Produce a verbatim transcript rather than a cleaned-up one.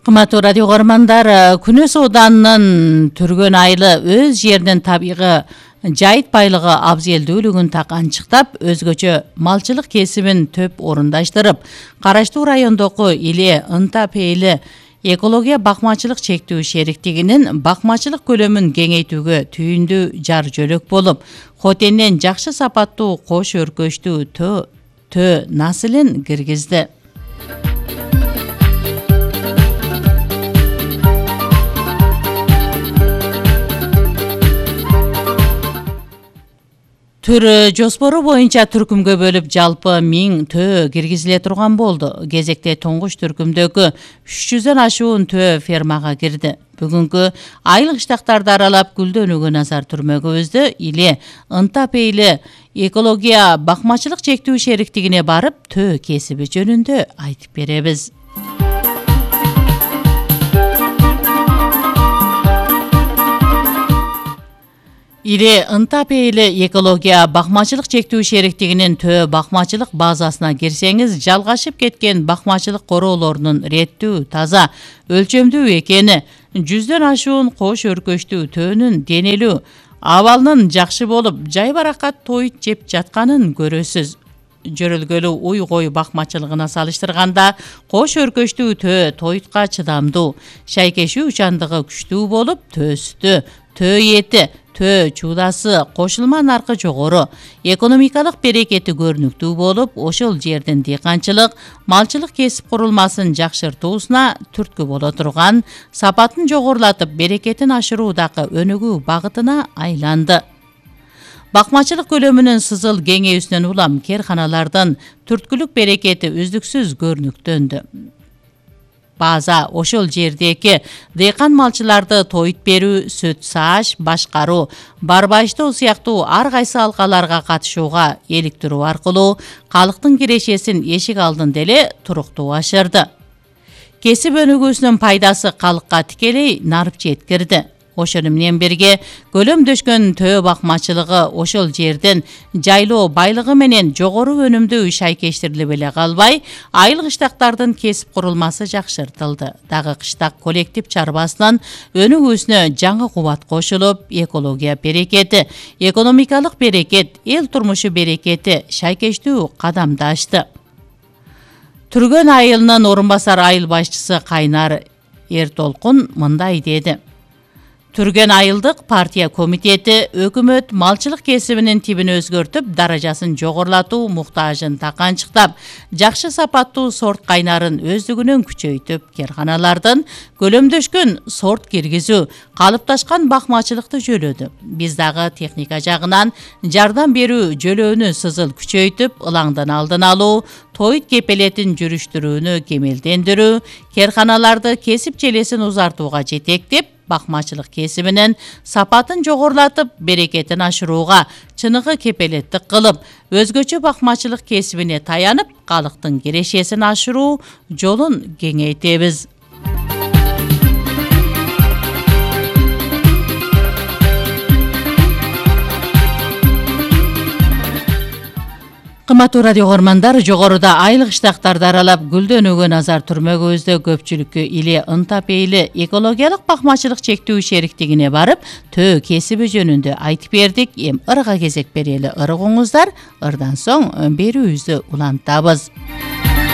Кымбаттуу радио көрөрмандар, Күнөс ауданынын Түргөн айылы өз жеринин табигый жайыт байлыгы абзелдүүлүгүн таканчыктап, өзгөчө малчылык кесибин төп орундаштырып, караштуу райондогу Иле Ынта Пейили экология бакмачылык чектүү шериктигинин бакмачылык көлөмүн кеңейтүүгө түйүндүү жар жөлөк болуп, хотенден жакшы сапаттуу кош өркөчтүү тө тө насылын киргизди. Түр жоспору боюнча түркүмгө бөлүп жалпы миң төө киргизиле турган болду. Кезекте туңгуч түркүмдөгү үч жүздөн ашуун төө фермага кирди. Бүгүнкү айыл кыштактарды аралап гүлдөнүүгө назар түрмөгүбүздү Иле Ынта Пейили экология бакмачылык чектүү шериктигине барып, төө кесиби жөнүндө айтып беребиз. Иле Ынта Пейили экология бакмачылык чектүү шериктигинин төө бакмачылык базасына кирсеңиз, жалгашып кеткен бакмачылык короолорунун реттүү, таза, өлчөмдүү экени, жүздөн ашуун кош өркөчтүү төөнүн денелүү, абалынын жакшы болуп, жайбаракат тоyut жеп жатканын көрөсүз. Жөрөлгөлүү уй-кой бакмачылыгына салыштырганда, кош өркөчтүү төө тоyutка чыдамдуу, шайкешүү учандыгы күчтүү болуп, төө сүтү, төө эти, төө чуудасы, кошулма наркы жогору, экономикалык берекети көрүнүктүү болуп, ошол жердин дыйканчылык, малчылык кесип курулмасын жакшыртуусуна түрткү боло турган, сапатын жогорулатып, берекетин ашыруудагы өнүгүү багытына айланды. Бакмачылык көлөмүнүн сызыл кеңейүүсүнөн улам керканалардын түрткүлүк берекети үздүксүз көрүнүктөндү. База ошол жердеги дыйкан малчыларды тоyut берүү, сүт сааш, башкаруу, барбайыштоо сыяктуу ар кайсы алкаларга катышууга иликтирүү аркылуу калктын кирешесин эшик алдын деле туруктуу ашырды. Кесип өнүгүүсүнүн пайдасы калкка тикелей нарып жеткирди. Ошону менен бирге көлөмдөшкөн төө бакмачылыгы ошол жердин жайлоо байлыгы менен жогору өнүмдүү шайкештирилип эле калбай, айыл кыштактардын кесип курулмасы жакшыртылды. Дагы кыштак коллектив чарбасынын өнүгүүсүнө жаңы кубат кошулуп, экология берекети, экономикалык берекет, эл турмушу берекети шайкештүү кадамды ашты. Түргөн айылынын орун басар айыл башчысы Кайнар Эртолкун мындай деди. Түргөн айылдык партия комитети өкмөт малчылык кесибинин тибин өзгөртүп, даражасын жогорулатуу муктажын таканчыктап, жакшы сапаттуу сорт кайнарын өздүгүнөн күчөйтүп, керканалардын көлөмдөшкөн сорт киргизүү, калыпташкан бакмачылыкты жөлөдү. Биз дагы техника жагынан жардам берүү жөлөөнү сызыл күчөйтүп, ылаңдын алдын алуу, тоyut кепелетин жүрүштүрүүнү кемелдендирүү, керканаларды кесип желесин узартууга жетектеп, бакмачылык кесибинин сапатын жогорулатып, берекетин ашырууга чыныгы кепелеттик кылып, өзгөчө бакмачылык кесибине таянып, калктын кирешесин ашыруу жолун кеңейтебиз. Кымбаттуу радио көрөрмандар, жогоруда айыл кыштактарды аралап гүлдөнүүгө назар түрмөгүбүздө көпчүлүккө Иле Ынта Пейили экологиялык бакмачылык чектүү шериктигине барып, төө кесиби жөнүндө айтып бердик. Эми ырга кезек берели ырыгыңыздар, ырдан соң берүүбүздү улантабыз.